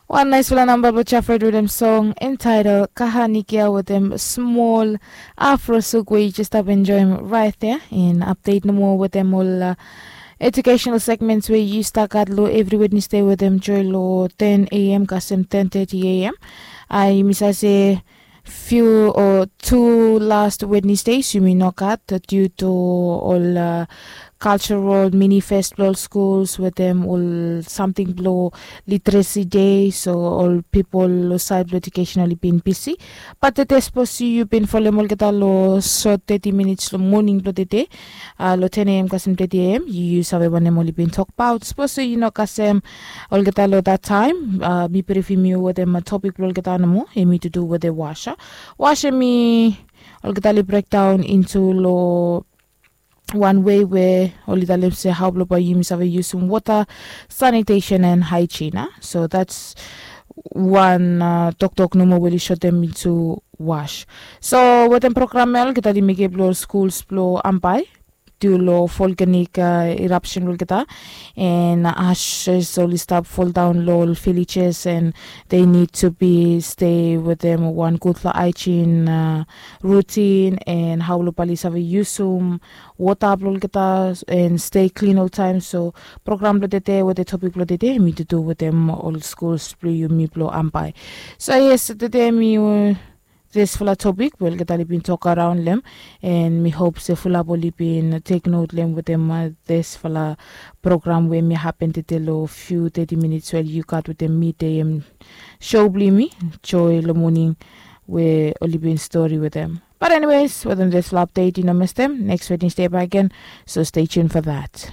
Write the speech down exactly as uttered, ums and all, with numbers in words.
Wan naisfala namba blong Jafred wetem song entitled Kahanikia wetem smol afrosuk we yu jes stap enjoim right there. In update nomo wetem ol uh, educational segments we yu stap gat long every Wednesday wetem joy long ten a.m. kasem ten thirty a.m. Uh, yumi save se few o tu last Wednesdays yumi no gat due to ol uh, cultural mini fest blong ol schools wetem ol samting blong literacy day, so ol pipol long side blong education oli bin bisi. Bat tede sapos yu bin folem olgeta long sot thirty minutes long moning blong tede, uh, long ten a.m. kasem thirty a.m. Yu save wanem oli bin tokbaot. Sapos yu no kasem olgeta long that time, uh, mi brifim yu wetem uh, topik blong olgeta nomo, hemi to do wetem washa. Washa mi olgeta oli brekdaon into long wan wei we oli talem se hao blong bae yumi save yusum wota, sanitation and hygiene. So that's wan uh, toktok nomo we oli sotem into wash. So wetem program ya olgeta oli mekem blong ol skuls blong Ambae due long volcanic uh, eruption blong olgeta, and ashes oli stap foldaon long ol villages, and they need to be stay wetem wan gudfala hygiene uh, routine, and hao blong bae oli save yusum wota blong olgeta and stay clean oltaem. So program blong tede wetem topik blong tede hemi to do wetem ol skuls blong yumi blong Ambae. So yes, tede mi uh, disfala topik we olgeta oli bin tok araon long hem, and mi hop se fulap oli bin tek not long hem wetem uh, disfala program we hemi hapen tede long few thirty minutes we yu gat wetem mi, de hem show blong yumi, joy long moning, we oli bin stori wetem. But anyways, wetem disfala update, yu no mestem, next Wednesday back again, so stay tuned for that.